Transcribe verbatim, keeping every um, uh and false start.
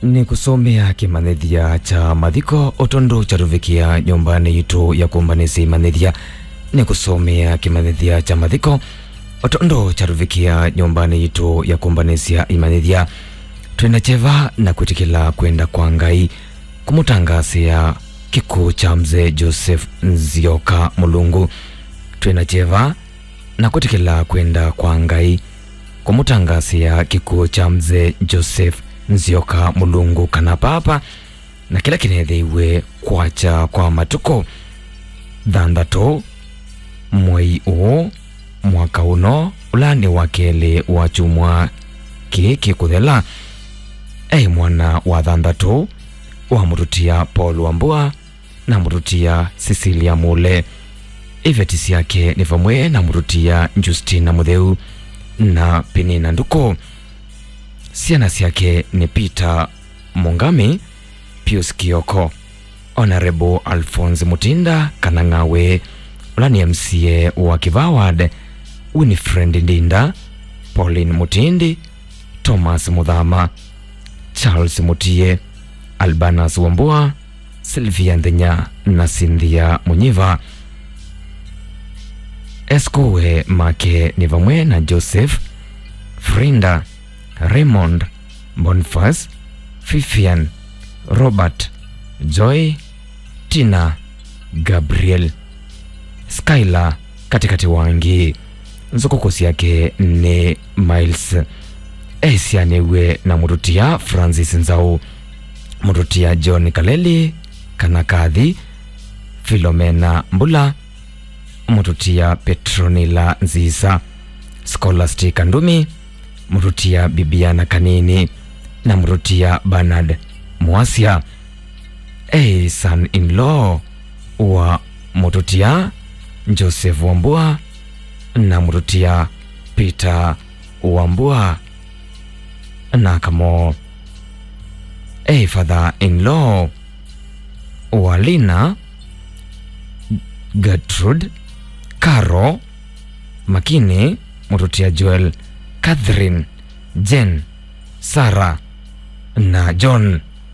Nĩkũsomea kĩmanyĩthya kya mathiko o tondũ kyatũvikĩa nyũmbanĩ yitũ ya kũmbanĩsya imanyĩthya. Nĩkũsomea kĩmanyĩthya kya mathiko o tondũ kyatũvikĩa nyũmbanĩ yitũ ya kũmbanĩsya imanyĩthya. Twĩna kyeva na kwĩtĩkĩla kwenda kwa Ngai kũmũtangaasĩa kĩkw'ũ kya Mzee Joseph Nzioka Mũlungu. Twĩna kyeva na kwĩtĩkĩla kwenda kwa Ngai kũmũtangaasĩa kĩkw'ũ kya Mzee Joseph Nzioka Mũlungu kana Papa, na kĩla kĩneethĩiwe kwakya kwa matukũ thanthatũ mwei ũũ mwaka ũno, ũla nĩ wa kelĩ wa kyumwa kĩĩ kĩkũthela. Aĩ mwana wa thanthatũ wa mũtũtia Paul Wambua na mũtũtia Cecilia Mule. Iveti syake nĩ vamwe na mũtũtia Justina Mũtheu na Penina Nduku. Syana syake nĩ Peter Mungami, Pius Kioko, Honorable Alphonse Mutinda kana Ng'awe, ũla nĩ M C A wa Kĩvaa Ward, Winifred Ndinda, Pauline Mutindi, Thomas Muthama, Charles Mutie, Albanus Wambua, Sylvia Nthenya na Cynthia Munyiva. Eskuwe make nĩ vamwe na Joseph, Frinda, Raymond, Boniface, Vivian, Robert, Joy, Tina, Gabriel, Skylar, katĩkatĩ wa angĩ. Nzũkũkũ syake nĩ Miles. Esyanĩw'e na mũtũtia Francis Nzau, mũtũtia John Kaleli kana Kathi, Philomena Mbula, mũtũtia Petronila Nzisa, Scholastica Ndumi, mũtũtia Bibiana Kanini, na mũtũtia Bernard Mwasya. E son-in-law wa mũtũtia Joseph Wambua na mũtũtia Peter Wambua na Kamo. E father-in-law wa Lina, Gertrude, Caro, Makini, mũtũtia Joel, Catherine, Jane, Sarah, na John.